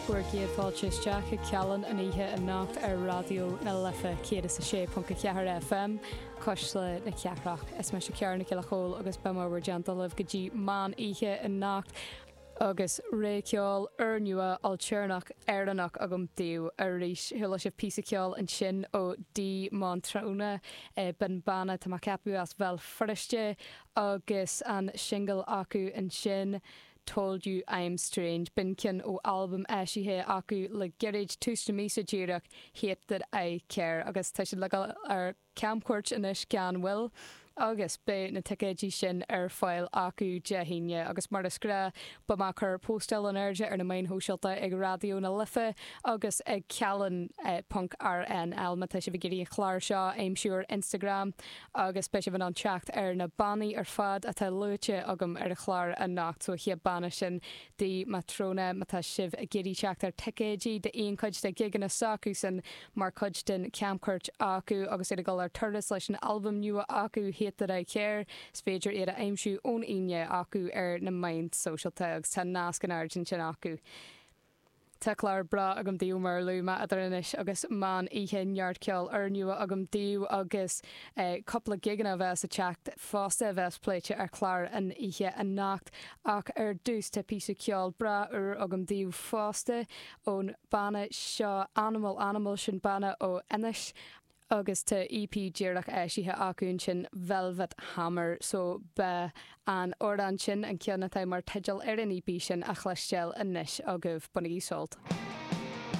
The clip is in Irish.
Bhur gcéad fáilte isteach chuig Cealann an oíche anocht ar Raidió na Life 106.4 FM, Cuisle na Cathrach. Is mise Ciara Nic Giolla Chóill agus beidh mé i bhur dteannta libh go dtí meán oíche anocht agus rogha ceoil úrnua ailtéarnach Éireannach agam daoibh arís. Chuala sibh píosa ceoil ansin ó Dee Mantrona, b'in banna tá mé ag ceapadh as Bhéal Feirste agus an singil acu ansin. Told You I'm Strange. B'in ceann ó albam eisithe acu le gairid, tús na míosa díreach, Hate That I Care, agus tá siad le dul ar camchuairt anois gan mhoill agus beidh na ticéidí sin ar fáil acu Dé hAoine. Agus mar is gnáth, beidh mé ag cur póstáil in airde ar na meáin shóisialta ag Raidió na Life agus ag Cealann ponc RNL má tá sibh ag iarraidh an clár seo a aimsiú ar Instagram. agus beidh sibh in ann teacht ar na bannaí ar fad atá luaite agam ar an chlár anocht. So, an chéad banna sin, Dee Matrona, má tá sibh ag iarraidh teacht ar ticéidí d'aon chuid de ghigeanna s'acusan mar chuid den camchuairt acu agus iad ag dul ar turas leis an albam nua acu, Hate That I Care, is féidir iad a aimsiú ón Aoine acu ar na meáin sóisialta agus tá nasc in airde ansin acu. Tá clár breá agam daoibh mar a luaigh mé idir anois agus meán oíche, neart ceoil úrnua agam daoibh agus cúpla gigeanna a bheas ag teacht fosta a bheas pléite ar chlár an oíche anocht. Ach ar dtús tá píosa ceoil breá úr agam daoibh fosta ón banna seo Animal Animal, sin banna ó Inis. Agus tá EP díreach eisithe acu ansin, Velvet Hammer, so beidh an amhrán sin, an ceann atá mar teideal ar an EP sin, á chloisteáil anois agaibh. Bainigí sult.